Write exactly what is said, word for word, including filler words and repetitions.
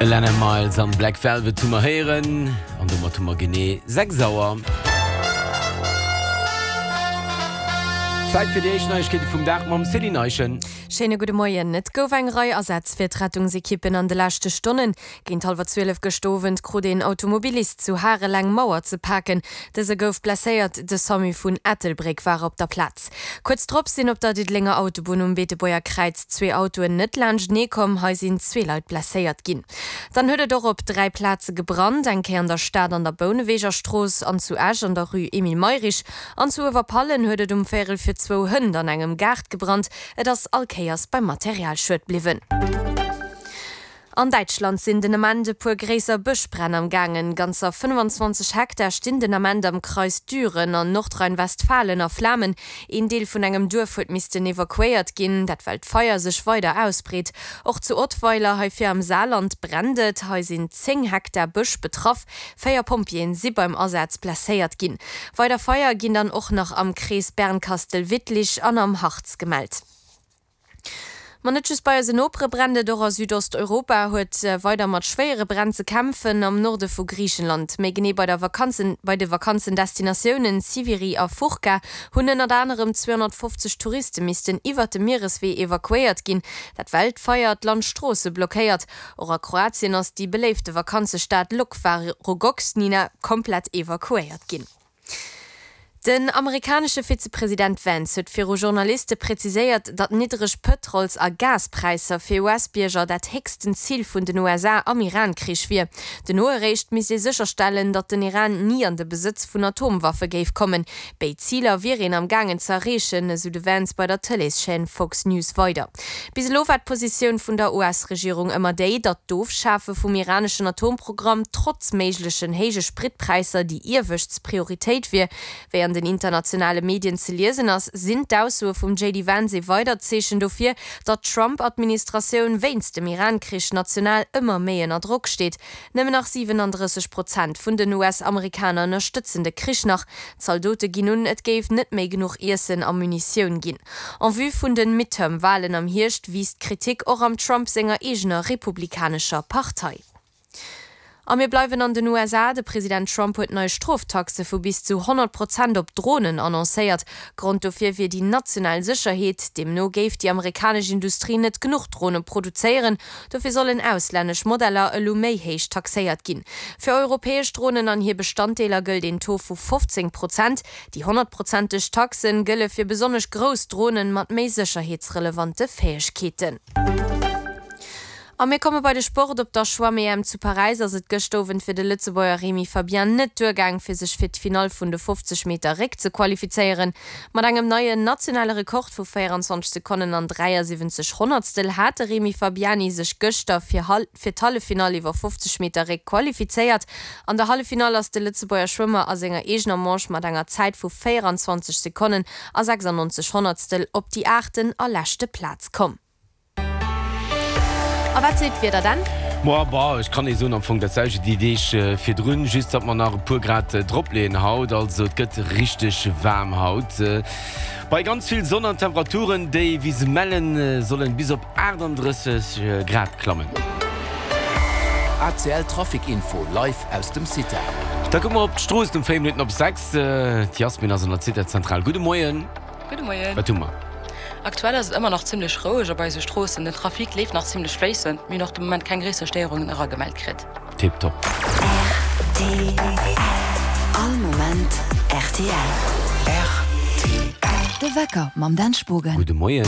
Alannah Myles an Black Velvet hu mer héieren an domat hu mer genee sechs Auer. Zäit fir déi éischt Neiegkeete vum Dag mam Céline Eischen. Schéine gudde Moien. Et gouf eng Rei Asätz fir d'Rettungsekippen an de leschte Stonnen. Géint hallwer zwielef gëscht Owend krut een Automobilist zu Harel eng Mauer ze paken. Dëse gouf blesséiert, de Samu vun Ettelbréck war op der Plaz. Kuerz drop sinn op der Diddelenger Autobunn um Beetebuerger Kräiz zwee Autoen net laanschtenee komm. Hei sinn zwee Leit blesséiert ginn. Dann huet et och op dräi Plaze gebrannt, eng Kéier an der Stad an der Bouneweger Strooss an zu Esch an der Rue Emile Mayrisch. An zu Uewerpallen huet et um Véierel vir zwou hënt an engem Gaart gebrannt. Et ass all Kéiers beim Materialschued bliwwen. An Däitschland sinn den Ament e puer gréisser Bëschbränn am gaangen. Ganzer fënnfanzwanzeg Hektar stinn den Ament am Kreis Düren an Nordrhein-Westfalen a Flamen. Een Deel vun engem Duerf huet missten evakuéiert ginn, dat well d'Feier sech weider ausbreet. Och zu Ottweiler, hei vir am Saarland, brennt et. Hei sinn zéng Hektar Bësch betraff. Véier Pompjeeën si beim Asaz blesséiert ginn. Weider Feier ginn dann och nach am Krees Bernkastel-Wittlich an am Harz gemellt. Ma net just bei eisen Nopere brennt et, och a Südosteuropa huet weider mat schwéiere Bränn ze kämpfen. Am Norde vu Griichenland, méi genee bei der Vakanzen bei de Vakanzendestinatiounen Siviri a Fourka, hunn ënnert anerem zweehonnertfofzeg Touriste missten iwwert de Miereswee evakuéiert ginn. Dat well d'Feier d'Landstroosse blockéiert. Och a Kroatien ass déi beléifte Vakanzestad Lokva Rogoznica komplett evakuéiert ginn. Den amerikanesche Vizepresident Vance huet viru Journaliste präziséiert, datt niddreg Pëtrols a Gaspräisser fir U S-Bierger dat héchsten Zil vun den U S A am Iran-Krich wier. Dono eréischt misst ee sécherstellen, datt den Iran ni an de Besëtz vun Atomwaffe géif kommen. Béid Ziler wier een am gaangen ze erreechen, esou de Vance bei der Tëleeschaîne Fox News weider. Bis elo war d'Positioun vun der U S-Regierung ëmmer déi, datt d'Ofschafe vum iraneschen Atomprogramm trotz méiglechen héije Spritpräisser déi iewescht Prioritéit wier. Wéi an den internationale Medien ze liesen ass, sinn d'Aussoe vum J D Vance ee weidert Zeechen dofir, datt d'Trump-Administratioun wéinst dem Iran-Krich national ëmmer méi ënner Drock steet. Nëmmen nach siwenandrësseg Prozent vun den U S-Amerikaner ënnerstëtzen de Krich nach. D'Zaldote ginn un, et géif net méi genuch Iessen a Munitioun ginn. En vue vun de Midterm-Walen am Hierscht wiisst d'Kritik och am Trump senger eegener republikanescher Partei. A mir bleiwen an den U S A, De President Trump huet nei Stroftaxe vu bis zu honnert Prozent op Dronen annoncéiert. Grond dofir wier déi national Sécherheet. Deemno géif déi amerikanesch Industrie net genuch Drone produzéieren. Dofir sollen auslännesch Modeller elo méi héich taxéiert ginn. Fir europäesch Dronen an hir Bestanddeeler gëllt een Taux vu fofzéng Prozent. Déi honnertprozenteg Taxe gëlle fir besonnesch grouss Dronen mat méi sécherheetsrelevante Fäegkeeten. A mir komme bei de Sport, Op der Schwamm-E M zu Paräis ass et gëscht Owend fir de Lëtzebuerger Remy Fabian net duergaang, fir sech fir d'Finall vun de fofzeg Meter Réck ze qualifizéieren. Mat engem neien nationale Rekord vu véierenzwanzeg Sekonnen an dräiasiwwenzeg Honnertstel hat de Remy Fabiani sech gëschter fir fir d'Halleffinall iwwer fofzeg Meter Réck qualifizéiert. An der Halleffinall ass de Lëtzebuerger Schwëmmer a senger eegener Manche mat enger Zäit vu véierenzwanzeg Sekonnen a sechsannonzeg Honnertstel op déi aachten a leschte Plaz komm. A wat seet d'Wieder dann? Moa bah, ech kann ee soen am Fong dat selwecht déi Deeg virdrun, just datt mer nach e puer Grad dropleeën haut. Also et gëtt richteg waarm haut bei ganz vill Sonn an Temperaturen, déi wéi se mellen sollen bis op achtandrësseg Grad klammen. A C L Trafic Info live aus dem CITA. Da kucke mer op d'Stroossen um véier Minutten op sechs. D'Yasmin ass an der CITA-Zentral. Gudde Moien. Gudde Moien. Wat hu mer? Aktuell ass et ëmmer nach zimmlech roueg op eise Stroossen. Den Trafic leeft nach zimmlech fléissend. Mir hunn och de Moment keng gréisser Stéierungen eragemellt kritt. Tip top. R T L All Moment R T L. R T L. De Wecker mam Dan Spogen. Gudde Moien.